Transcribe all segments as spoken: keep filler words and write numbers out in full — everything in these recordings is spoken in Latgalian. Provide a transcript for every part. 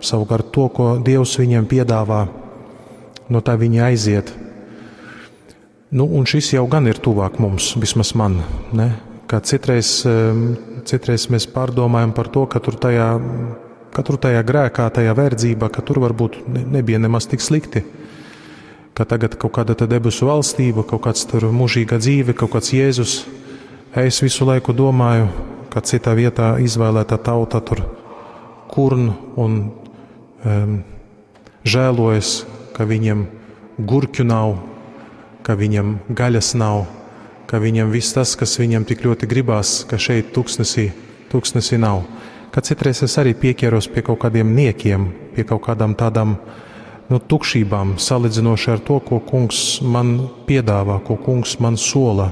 Savukārt to, ko Dievs viņiem piedāvā, no tā viņi aiziet. Nu, un šis jau gan ir tuvāk mums, vismaz man, ne? Ka citreiz, citreiz mēs pārdomājam par to, ka tur tajā, ka tur tajā grēkā, tajā verdzībā, ka tur varbūt nebija nemaz tik slikti. Ka tagad kaut kāda te debesu valstība, kaut kāds tur mūžīga dzīve, kaut kāds Jēzus. Es visu laiku domāju, ka citā vietā izvēlēta tauta tur kurn un um, žēlojas, ka viņiem gurķu nav, ka viņiem gaļas nav, ka viņiem viss tas, kas viņiem tik ļoti gribās, ka šeit tuksnesī, tuksnesī nav. Ka citreiz es arī pieķeros pie kaut kādiem niekiem, pie kaut kādām tādām nu, tukšībām, salīdzinoši ar to, ko kungs man piedāvā, ko kungs man sola.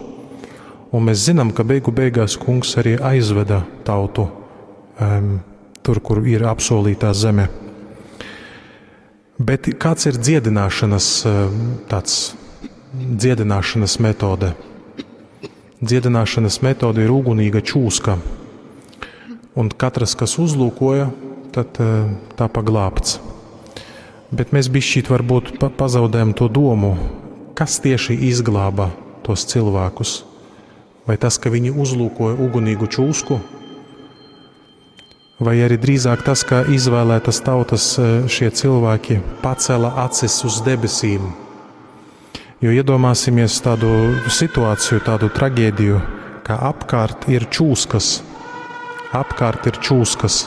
Un mēs zinām, ka beigu beigās kungs arī aizveda tautu um, tur, kur ir apsolītā zeme. Bet kāds ir dziedināšanas, tāds, dziedināšanas metode? Dziedināšanas metode ir ugunīga čūska. Un katrs, kas uzlūkoja, tad tapa glābts. Bet mēs bišķīt varbūt pa pazaudējam to domu, kas tieši izglāba tos cilvēkus. Vai tas, ka viņi uzlūkoja ugunīgu čūsku, vai arī drīzāk tas, ka izvēlētas tautas šie cilvēki pacēla acis uz debesīm. Jo iedomāsimies tādu situāciju, tādu traģēdiju, ka apkārt ir čūskas. Apkārt ir čūskas.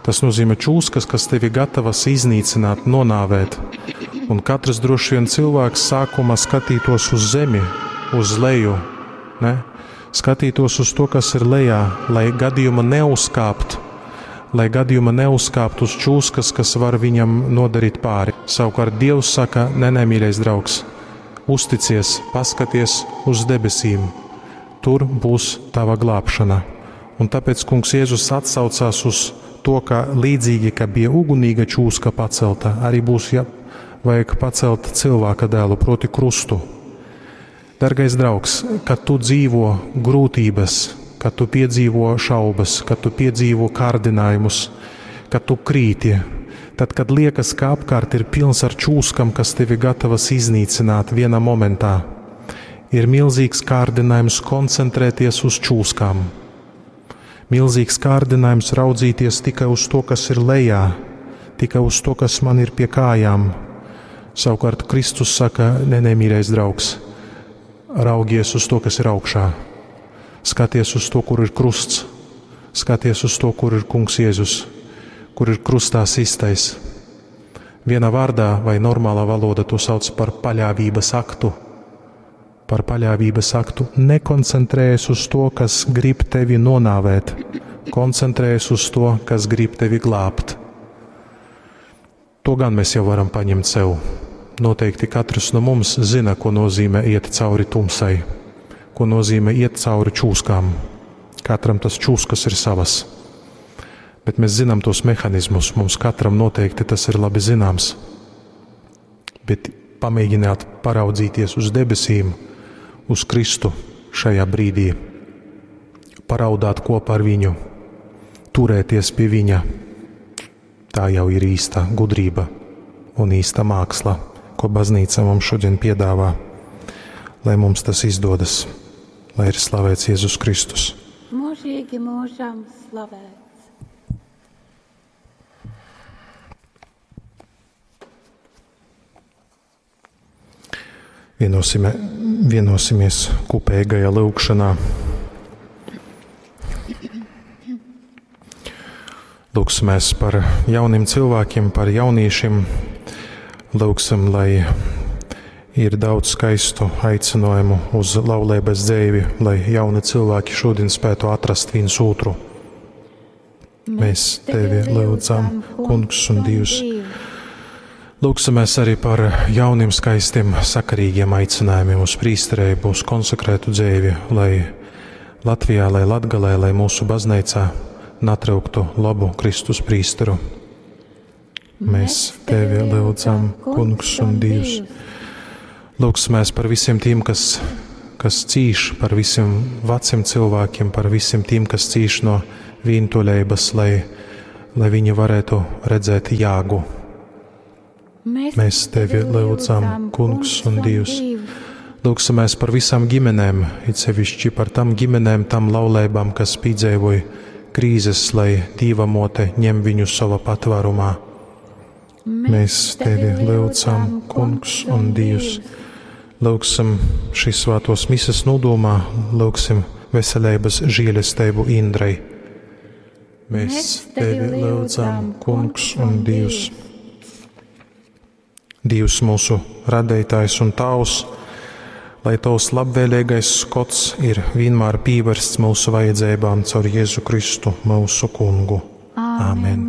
Tas nozīmē čūskas, kas tevi gatavas iznīcināt, nonāvēt. Un katrs droši vien cilvēks sākumā skatītos uz zemi, uz leju, ne? Skatītos uz to, kas ir lejā, lai gadījuma neuzkāpt, lai gadījuma neuzkāpt uz čūskas, kas var viņam nodarīt pāri. Savukārt Dievs saka, nē, nē, mīļais draugs, uzticies, paskaties uz debesīm, tur būs tava glābšana. Un tāpēc kungs Jēzus atsaucās uz to, ka līdzīgi, ka bija ugunīga čūska pacelta, arī būs ja, vajag pacelt cilvēka dēlu, proti krustu. Dargais draugs, kad tu dzīvo grūtības, kad tu piedzīvo šaubas, kad tu piedzīvo kārdinājumus, kad tu krīti, tad, kad liekas, ka apkārt ir pilns ar čūskam, kas tevi gatavas iznīcināt vienā momentā, ir milzīgs kārdinājums koncentrēties uz čūskām. Milzīgs kārdinājums raudzīties tikai uz to, kas ir lejā, tikai uz to, kas man ir pie kājām. Savukārt Kristus saka, nē, nē, mīļais draugs, raugies uz to, kas ir augšā. Skaties uz to, kur ir krusts. Skaties uz to, kur ir kungs Jēzus, kur ir krustā sistais. Vienā vārdā vai normālā valoda to sauc par paļāvības aktu. Par paļāvības aktu. Nekoncentrējies uz to, kas grib tevi nonāvēt. Koncentrējies uz to, kas grib tevi glābt. To gan mēs jau varam paņemt sev. Noteikti katrs no mums zina, ko nozīmē iet cauri tumsai, ko nozīmē iet cauri čūskām. Katram tas čūskas ir savas. Bet mēs zinām tos mehānismus, mums katram noteikti tas ir labi zināms. Bet pamēģināt paraudzīties uz debesīm, uz Kristu šajā brīdī, paraudāt kopā ar viņu, turēties pie viņa, tā jau ir īsta gudrība un īsta māksla, ko baznīca mums šodien piedāvā, lai mums tas izdodas, lai ir slavēts Jēzus Kristus. Mūžīgi mūžam slavēts. Vienosime, vienosimies kopīgajā lūgšanā. Lūgsimies par jauniem cilvēkiem, par jauniešiem. Lūgsim, lai ir daudz skaistu aicinājumu uz laulības dzīvi, lai jauni cilvēki šodien spētu atrast viens otru. Mēs tevi lūdzam, Kungs un Dievs. Lūgsimies arī par jauniem, skaistiem, sakarīgiem aicinājumiem uz prīsterību, uz konsekrētu dzīvi, lai Latvijā, lai Latgalē, lai mūsu baznīcā natrauktu labu Kristus prīsteru. Mēs tevi lūdzam, Kungs un Dievs. Lūgsimies par visiem tiem, kas, kas cīš, par visiem veciem cilvēkiem, par visiem tiem, kas cīš no vientuļības, lai lai viņi varētu redzēt jāgu. Mēs, Mēs tevi lūdzam, Kungs un Dievs. Lūgsimies par visām ģimenēm, it sevišķi par tam ģimenēm, tam laulībām, kas piedzīvoja krīzes, lai Dieva mote ņem viņu sava patvērumā. Mēs tevi lūdzam, Kungs un Dievs. Lūgsim šīs svētos mises nodomā, lūgsim veselības žēlestību Indrai. Mēs tevi lūdzam, Kungs un Dievs. Dievs mūsu radītājs un Tavs, lai Tavs labvēlīgais skots ir vienmēr pievērsts mūsu vajadzībām caur Jēzu Kristu, mūsu Kungu. Āmen.